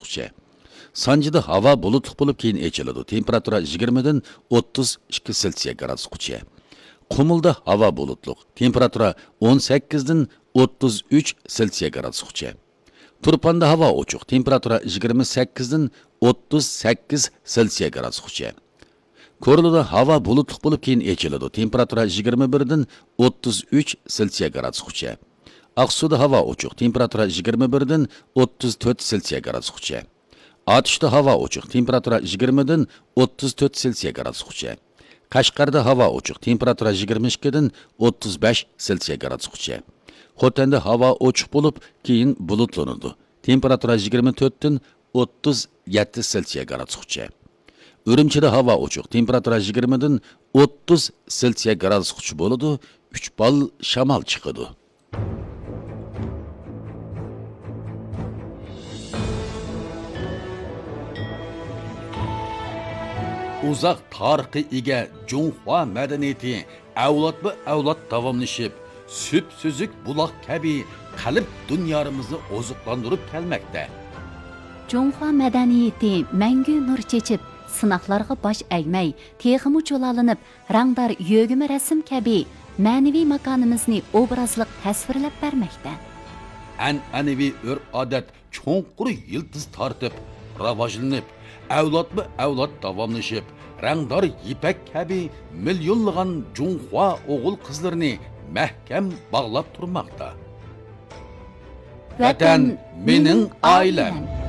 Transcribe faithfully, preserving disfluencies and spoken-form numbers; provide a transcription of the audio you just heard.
گرادۇسقىچە. سانجىدا ھاۋا بۇلۇتلۇق بولۇپ، كېيىن ئېچىلىدۇ. تېمپېراتۇرا يىگىرمىدىن ئوتتۇز ئىككى سېلسىيە گرادۇسقىچە. قۇمۇلدا ھاۋا بۇلۇتلۇق. تېمپېراتۇرا ئون سەككىزدىن ئوتتۇز ئۈچ سېلسىيە گرادۇسقىچە. تۇرپاندا ھاۋا ئوچۇق. تېمپېراتۇرا يىگىرمە سەككىزدىن ئوتتۇز سەككىز سېلسىيە گرادۇسقىچە. كورلىدا ھاۋا بۇلۇتلۇق بولۇپ، كېيىن ئېچىلىدۇ. تېمپېراتۇرا يىگىرمە بىردىن ئوتتۇز ئۈچ سېلسىيە گرادۇسقىچە. ئاقسۇدا ھاۋا ئوچۇق. تېمپېراتۇرا يىگىرمە بىردىن ئوتتۇز تۆت سېلسىيە گرادۇسقىچە. ئاتۇشتا ھاۋا ئوچۇق. تېمپېراتۇرا يىگىرمىدىن ئوتتۇز تۆت سېلسىيە گرادۇسقىچە. قەشقەردە ھاۋا ئوچۇق. تېمپېراتۇرا يىگىرمە ئىككىدىن ئوتتۇز بەش سېلسىيە گرادۇسقىچە. خوتەندە ھاۋا ئوچۇق بولۇپ، كېيىن بۇلۇتلىنىدۇ. تېمپېراتۇرا يىگىرمە تۆتتىن ئوتتۇز يەتتە سېلسىيە گرادۇسقىچە. ئۈرۈمچىدە ھاۋا ئوچۇق. تېمپېراتۇرا يىگىرمىدىن ئوتتۇز سېلسىيە گرادۇسقىچە بولىدۇ. ئۈچ بال شامال چىقىدۇ. ئۇزاق تارىخقا ئىگە جۇڭخۇا مەدەنىيىتى ئەۋلادمۇ ئەۋلاد داۋاملىشىپ، سۈپسۈزۈك بۇلاق كەبى قەلب دۇنيارىمىزنى ئوزۇقلاندۇرۇپ كەلمەكتە. جۇڭخۇا مەدەنىيىتى مەڭگۈ نۇر چېچىپ، سىناقلارغا باش ئەگمەي، تېخىمۇ جۇلالىنىپ، رەڭدار يۆگىمە رەسىم كەبى مەنىۋى ماكانىمىزنى ئوبرازلىق تەسۋىرلەپ بەرمەكتە. ئەنئەنىۋى ئۆرپ-ئادەت چوڭقۇر يىلتىز تارتىپ، راۋاجلىنىپ، ئەۋلادمۇ ئەۋلاد داۋاملىشىپ، رەڭدار يىپەك كەبى مىليونلىغان جۇڭخۇا ئوغۇل-قىزلىرىنى مەھكەم باغلاپ تۇرماقتا. ۋەتەن مېنىڭ ئائىلەم.